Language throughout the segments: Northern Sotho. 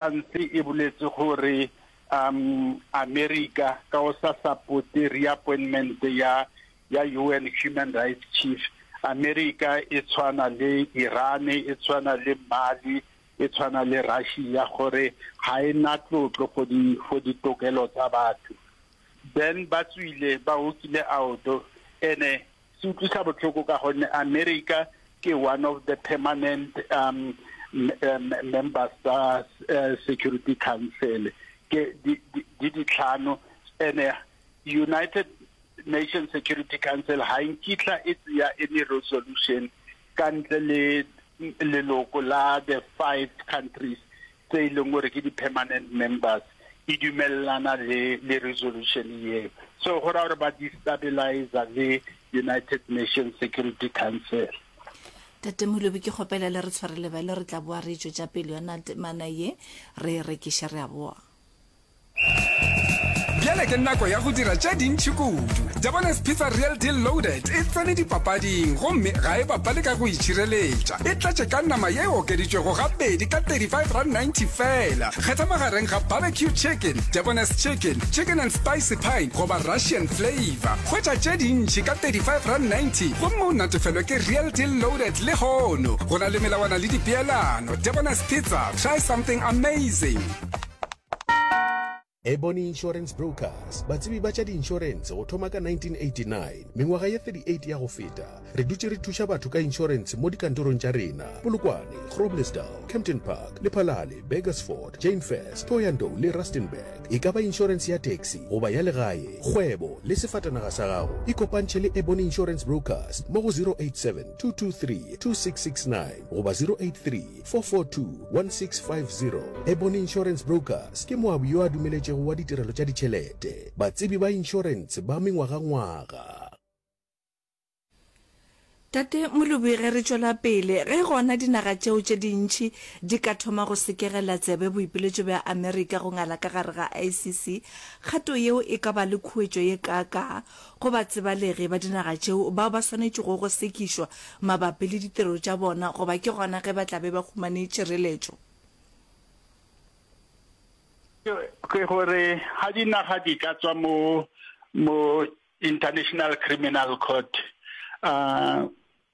France e boletse gore um America ka go sa supporte reappointment ya ya UN Human Rights Chief, America e tshwana le Iran, e tshwana le Mali, e tshwana le Russia gore ga e na tlotlo for di for ditokelo tsa batho. Then ba tswile ba hokile out ene Se utlwisa botlhoko ka gonne America ke one of the permanent um, members tsa uh, Security Council ke di ditlhano ene United Nations Security Council ha nkitla e tseya any resolution ka ntle le leloko la the five countries tse e leng gore ke di-permanent members e dumelelana le le resolution eo. So go raya gore ba destabilizer le United Nations Security Council. Tate Molobi ke kgopela le re tshwarele bjale re tla boa re tšwetša pele yona temana ye re e rekiše re a boa. Bjale ke nako ya go dira tše dintši kudu. Debonair's Pizza Real Deal Loaded e tsene dipapading gomme ga e bapale ka go itšhireletša. E tletše ka nama ye e okeditšwego gabedi ka R35.90 feela. Kgetha magareng ga barbecue chicken, Debonair's chicken, chicken and spicy pine goba Russian flavour. Hwetša tše dintši ka R35.90 gomme o natefelwe ke Real Deal Loaded lehono. Go na le melawana le dipeelano. Debonair's Pizza, try something amazing. Ebony Insurance Brokers, batsebi ba tša diinšorense go thoma ka 1989, mengwaga ye 38 ya go feta, re dutše re thuša batho ka inšorense mo dikantorong tša rena, Polokwane, Groblersdal, Kempton Park, Lephalale, Burgersfort, Jane Furse, Thohoyandou le Rustenburg. E ka ba inšorense ya taxi goba ya legae, kgwebo le sefatanaga sa gago, ikopantšhe le Ebony Insurance Brokers mo go 087 223 2669 goba 083 442-1650. Ebony Insurance Brokers ke moabi yo a dumeletšego wa ditirelo tša ditšhelete, batsebi ba inšorentshe ba mengwagangwaga. Tate Molobi ge re tšwela pele, ge gona dinaga tšeo tše dintši di ka thoma go sekegela tsebe boipiletšo bja Amerika go ngala ka gare ga ICC, kgato yeo e ka ba le khuetšo ye kaakaa Go batsebalegi ba dinaga tšeo bao ba swanetšego go sekišwa mabapi le ditiro tša bona goba ke gona ge ba tla be ba humane tšireletšo. Ke gore ga dinaga di ka tswa mo mo International Criminal Court uh,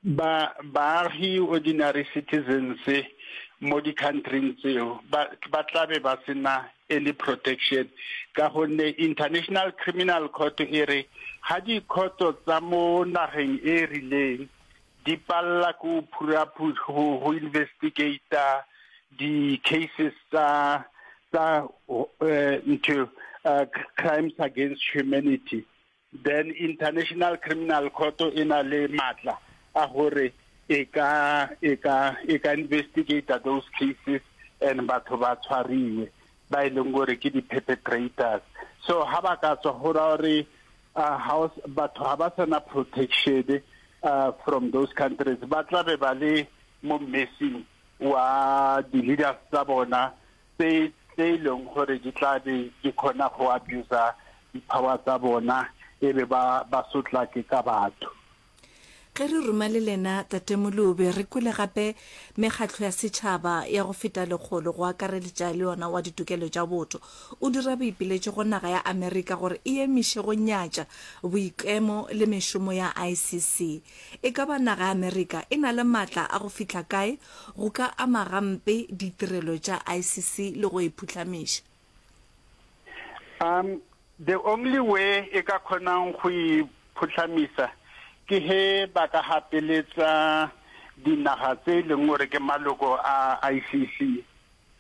Ba, baagi, ordinary citizens, mo di-countryng tseo, ba, ba tla be ba se na any protection, ka gonne International Criminal Court e re ga dikhoto tsa mo nageng e rileng di palela ke go phuraphu, go, go investigata di-cases tsa, tsa eh, ntho, uh, crimes against humanity, Then International Criminal Court e na le matla a gore e ka e ka e ka investigate those cases and batho ba tshwariwe ba e leng gore ke di-perpetrators. So ha ba ka tswa go raya gore uh, house batho ha ba sana protection uh, from those countries, ba tla be ba le mo messing wa di-leaders tsa bona tse tse e leng gore di tla be di kgona go abusa di-power tsa bona e be ba ba sotlake ka batho. Ge re ruma le lena Tate Molobi, re kwele gape mekgatlo ya setšhaba ya go feta lekgolo go akareletša le yona wa ditokelo tša botho o dira boipiletšo go naga ya Amerika gore e emiše go nyatša boikemo le mešomo ya ICC. E ka ba naga ya Amerika e na le matla a go fihla kae go ka ama gampe ditirelo tša ICC le go e phuhlamiša. Um, the only way e ka kgonang go e phuhlamisa ke he ba ka gapeletsa dinaga tse e leng gore ke maloko a ICC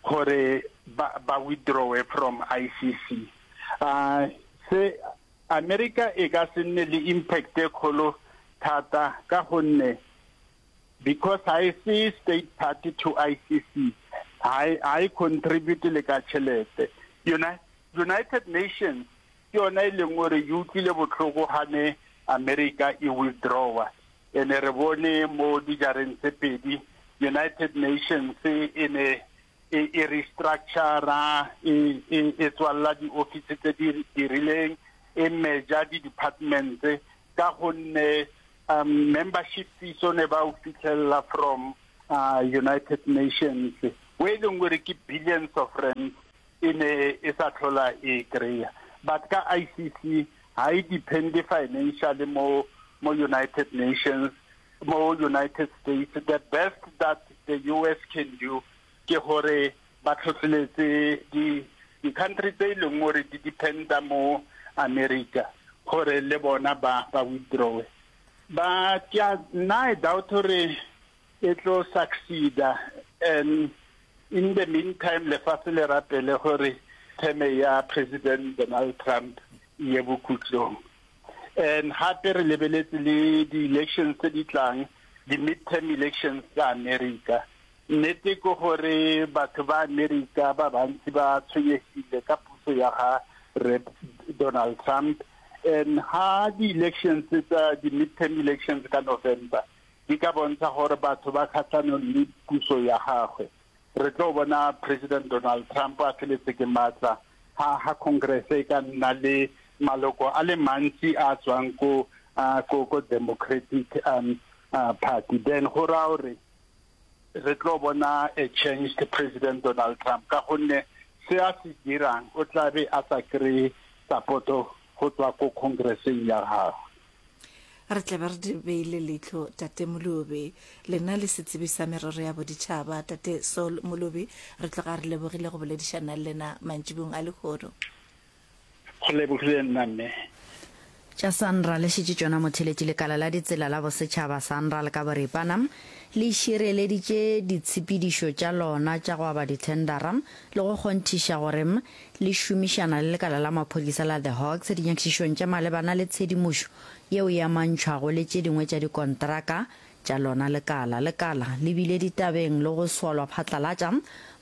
gore ba, ba withdrawe from ICC. Uh, se America e ka se nne le impact e kgolo thata ka gonne Because ha e se state party to ICC, ha e, ha e contribute le ka tšhelete. United Nations ke yona e leng gore e utlwile botlhoko ha ne America e withdrawa. Ene re bone mo dijareng tse pedi United Nations e ne e, e restructura, e, e, e tswalela di-office tse di dirileng, e meja di-departments ka gonne um membership fees o ne ba o fitlhelela from uh, United Nations. O e leng gore ke billions of rands e ne e sa tlhola e kry-a. But ka ICC ga e depende financially mo mo United Nations, mo United States. The best that the US can do ke gore ba tlhotlheletse di di country tse e leng gore di dependa mo America gore le bona ba ba withdrawe. Ba ke a nna I doubt gore e tlo succeeda and in the meantime lefatshe le rapele gore term ya President Donald Trump e ye bokhutlong. And gape re lebeletse le di-elections tse di tlang, di-midterm elections tsa America. Nnete ke gore batho ba America ba bantsi ba tshwenyegile ka puso ya ga Rre Donald Trump and ha di-elections tsa di-midterm elections ka November di ka bontsha gore batho ba kgatlhanong le puso ya gagwe. Re tlo bona President Donald Trump a feletse ke maatla ha ha Congress e ka nna le maloko a le mantsi a tswang ko ko ko Democratic um, uh, Party. Then go raya gore re tlo bona a changed President Donald Trump ka gonne se a se dirang o tla be a sa kry-e support-o go tswa ko Congresseng ya gagwe. Re tla be re di beile leihlo, Tate Molobi. Lena le setsebi sa merero ya boditšhaba, Tate Saul Molobi, re tloga re lebogile go boledišana le lena mantšibong a lehono. Go lebogile nna, mme. Tša SANRAL le šetše tšona motheletši Lekala la Ditsela la Bosetšhaba, SANRAL, ka boripana le šireleditše ditshepedišo tša lona tša go aba dithendara le go kgonthiša gore le šomišana le lekala la maphodisa la The Hawks dinyakišišong tša malebana le tshedimošo yeo e amantšhwago le tše dingwe tša dikontraka tša lona lekala. Lekala le bile ditabeng le go solwa phatlalatša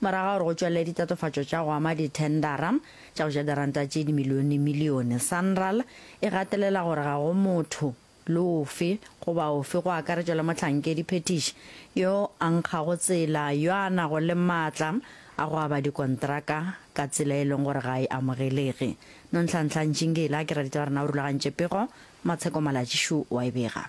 morago ga gore go tšwelele ditatofatšo tša go ama dithendara tša go ja diranta tše dimilionemilione. Sanral e gatelela gore ga go motho le ofe goba ofe, go akaretšwa le mohlankedi phethiši yo a nkgago tsela, yo a nago le maatla a go aba dikontraka ka tsela e leng gore ga e amogelege. Nonhlanhla Ntšingila ke raditaba rena o rulagantše pego, Matsheko Malatši šo wa e bega.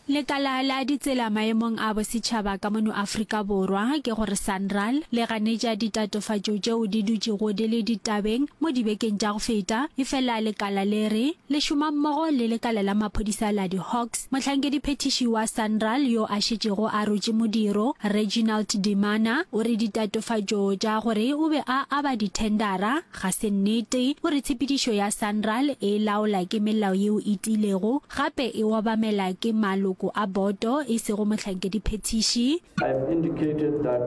Lekala la ditsela maemong a bosetšhaba ka mono Afrika Borwa, ke gore SANRAL, le ganetša ditatofatšo tšeo di dutšego di le ditabeng mo dibekeng tša go feta, efela lekala le re le šoma mmogo le lekala la maphodisa la di-Hawks. Mohlankediphethiši wa SANRAL yo a šetšego a rotše modiro, Reginald Demana, o re ditatofatšo tša gore o be a aba dithendara ga se nnete. O re tshepedišo ya SANRAL e laola ke melao yeo e tiilego, Gape e obamela ke maloko a boto, e sego mohlankediphethiši. I have indicated that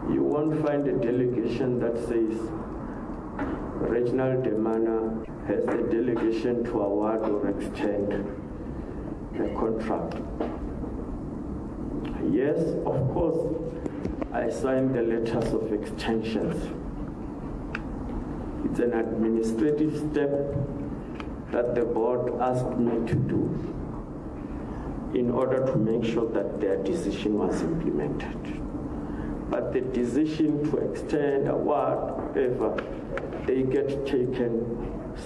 you won't find a delegation that says Reginald Demana has the delegation to award or extend a contract. Yes, of course, I signed the letters of extensions. It's an administrative step that the board asked me to do in order to make sure that their decision was implemented. But the decision to extend, whatever, they get taken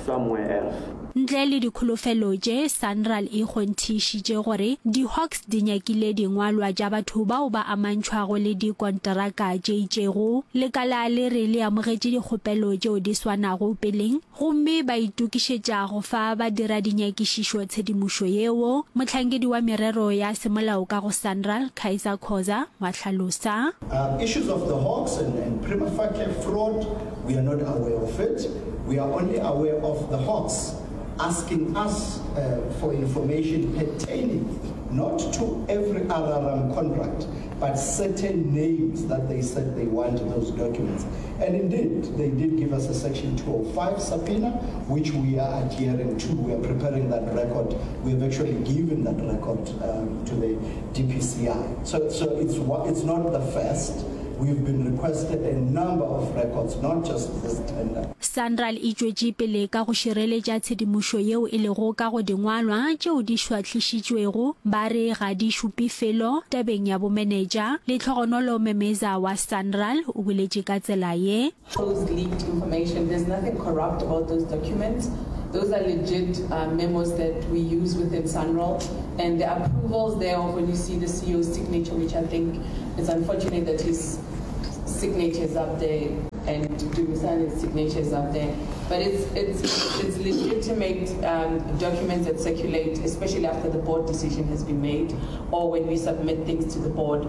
somewhere else. Ntle le dikholofelo tše, SANRAL e kgonthišitše gore di-Hawks di nyakile dingwalwa tša batho bao ba amantšhwago le dikonteraka tše itšego. Lekala le re le amogetše dikgopelo tšeo di swanago peleng gomme ba itokišetša go fa badiradinyakišišo tshedimošo yeo, mohlankedi wa merero ya semolao ka go SANRAL, Kaizer Khoza, wa hlalosa. Issues of the Hawks and, and prima facie fraud, we are not aware of it. We are only aware of the Hawks asking us uh, for information pertaining not to every RRM contract, but certain names that they said they want those documents. And indeed, they did give us a Section 205 subpoena, which we are adhering to. We are preparing that record. We have actually given that record um, to the DPCI. So, so it's, it's not the first. We've been requested a number of records, not just this tender. SANRAL e tšwetše pele ka go šireletša tshedimošo yeo e lego ka go dingwalwa tšeo di šwahlišitšwego ba re ga di šupe felo tabeng ya bomenetša. Lehlogonolo Memeza wa SANRAL o boletše ka tsela ye. Those leaked information, there's nothing corrupt about those documents. Those are legit uh, memos that we use within SANRAL. And the approvals there of when you see the CEO's signature, which I think it's unfortunate that he's. signatures up there and Dumisani's signatures up there. But it's, it's, it's legitimate um, documents that circulate, especially after the board decision has been made or when we submit things to the board.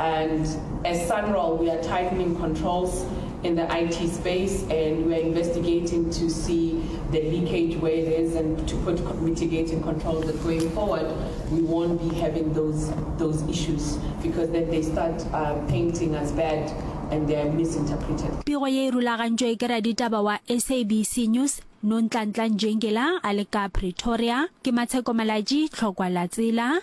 And as SANRAL, we are tightening controls in the IT space and we are investigating to see the leakage where it is and to put mitigating controls that going forward we won't be having those those issues because then they start uh, painting as bad and they are misinterpreted. Pego ye e rulagantšwe ke raditaba wa SABC News, Nonhlanhla Njengela a le ka Pretoria. Ke Matsheko Malatji, Tlhokwa la Tsela.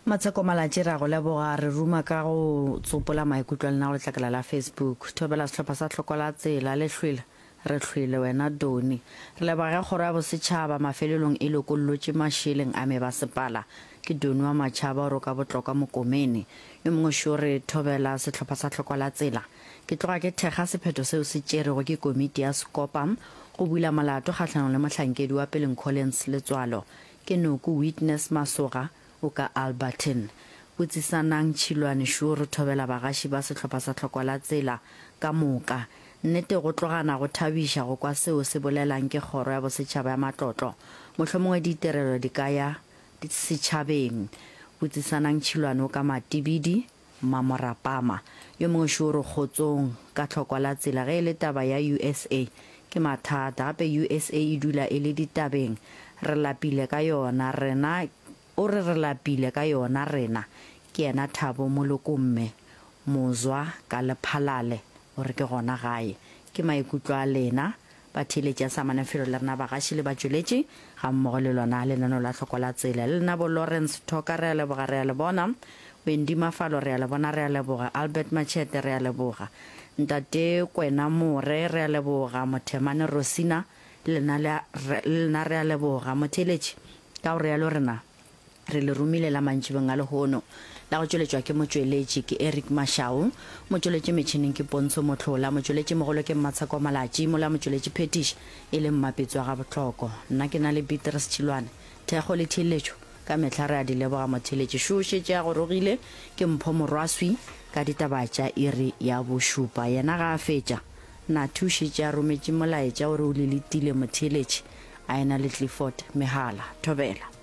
Matsheko Malatji re a go leboga, re ruma ka go tsopola maikutlo a lena go letlakala la Facebook. Thobela sehlopha sa Tlhokwa la Tsela, le hlwele, re hlwele wena Doni. Re leboga ge kgoro ya bosetšhaba mafelelong e lokollotše mašeleng a mebasepala. Ke Doni wa Machaba o roka botlokwa Mokomene. Yo mongwe šo re thobela sehlopha sa Tlhokwa la Tsela. Ke tloga ke thekga sephetho seo se tšerwego ke komiti ya Sekopa go bula molato kgahlanong le mohlankedi wa peleng Collins Letswalo. Ke Noko Witness Masoga O ka Alberton. Botsisanang Tšhilwane šo re thobela bagaši ba sehlopha sa Tlhokwa la Tsela ka moka. Nnete go tlogana go thabiša go kwa seo se bolelang ke Kgoro ya Bosetšhaba ya Matlotlo. Mohlomongwe ditirelo di ka ya setšhabeng. Botsisanang Tšhilwane o ka Matibidi, Mmamorapama. Yo mongwe šo o re kgotsong ka Tlhokwa la Tsela ge e le taba ya USA ke mathata. Gape USA e dula e le ditabeng. Re lapile ka yona rena O re re lapile ka yona rena. Ke yena Thabo Molokomme Mozwa ka Lephalale o re ke gona gae. Ke maikutlo a lena batheeletši a sa Manafelo le rena bagaši le batšweletši gammogo le lona lenaneo la Hloko la Tsela. Le lena bo Lawrence Thoka re a leboga re a le bona. Wendy Mafalo re a le bona re a leboga. Albert Machete re a leboga. Ntate Kwena More re a leboga. Mothemane Rosina le lena le lena re a leboga. Motheeletši Ka go realo rena re le romile la mantšibeng a lehono la go tšweletšwa ke motšweletši ke Eric Mashau, motšweletši metšhineng ke Pontsho Mohlola, motšweletši mogolo ke Mmatsheko Malatši, mola motšweletši phetiši e le Mmapetsi wa Gabohloko. Nna ke na le Beatrice Tšhilwane. Thekgo le theeletšo ka mehla re a di leboga motheeletši. Šo o šetše a gorogile ke Mpho Morwaswi ka ditaba tša iri ya bošupa. Yena ga a fetša, Nathi o šetše a rometše molaetša o re o le letile motheeletši. A ena le Clifford Mehala. Thobela.